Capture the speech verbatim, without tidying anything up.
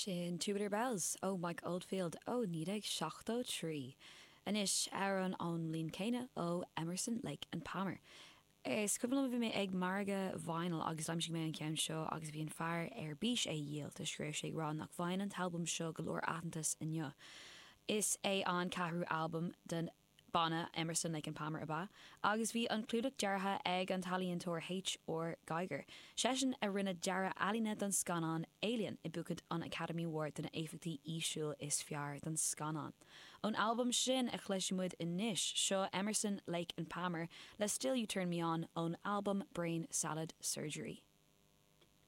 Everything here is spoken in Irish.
Sin Tubular Bells ó Mike Oldfield ó naoi déag seachtó trí. Anois amhrán ón mbliain céanna ó Emerson, Lake and Palmer. Is cuimhin liom bhí mé ag margadh vinyl agus d'aimsigh mé an ceann seo agus bhí an fear ar bís é a dhíol toisc go raibh sé ag rá nach bhfaigheann an t-albam seo go leor aitheantas inniu. Is é an ceathrú albam den banna Emerson, Lake and Palmer ab ea, agus bhí an clúdach deartha ag an t-ealaíontóir H.R. Giger. Seisean a rinne dearadh ealaíne don scannán Alien, a bhuaigh an Academy Award do na éifeachtaí físiúil is fearr don scannán. Ón albam sin a chloisfidh muid anois seo Emerson, Lake and Palmer le Still You Turn Me On ón albam Brain Salad Surgery.